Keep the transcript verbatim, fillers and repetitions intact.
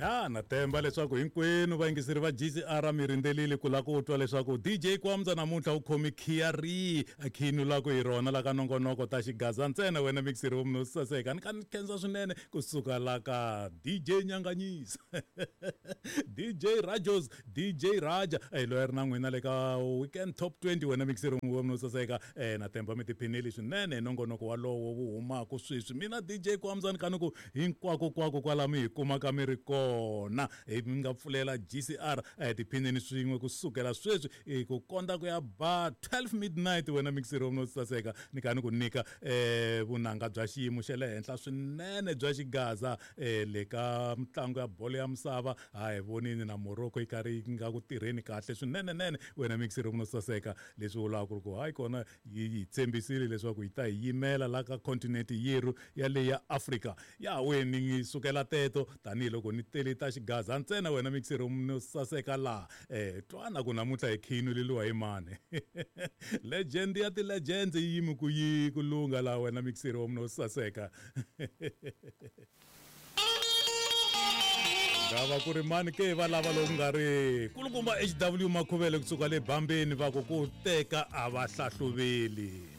Ya na temba leswaku hinkwenu vayingiseri va G C R mi rindzelile ku lava ku twa leswaku D J Kwamza namuntlha u khomi khiya rihi khinu la ku hi rona la ka nongonoko ta xigaza ntsena wena mixeri wa munhu saseka ni ka ni khensa swinene kusuka la ka D J Nyanganyisa D J Rajos D J Raja eh loyi a ri na n'wina le ka Weekend Top twenty wena mixeri wa munhu saseka eh na temba mi tiphinile swinene hi nongonoko walowo wu humaka sweswi mina D J Kwamza ni ka ni ku hinkwako kwako kwala mi hi kumaka mi ri kona hi mi nga pfulela G C R eh tiphinini swin'we kusukela sweswi eh, ku konda ku ya ba twelve midnight wena mixeri wa munhu saseka ni ka ni ku nyika eh vunanga bya xiyimo xa le henhla swinene bya xigaza eh le ka mitlangu ya bolo ya misava ha hi vonini na Morocco yi karhi yi nga ku tirheni kahle swinene nene wena mixeri wa munhu saseka leswi vulaka ku ri ku hayi kona yi yi tshembisile leswaku yi ta hi yimela la ka continent yerhu ya le ya Africa ya weni ni sukela teto tanihiloko ni tele ta xigaza ntsena wena mixeri wa munhu saseka laha eh twana ku namuntlha hi khinuleliwa hi mani legend ya ti-legends yi yimi ku yi ku lungha laha wena mixeri wa munhu saseka ngava ku ri mani ke va lava loku nga ri kulukumba H W Makhuvele kusuka le Bambeni va ku ku teka a va hlahluveli.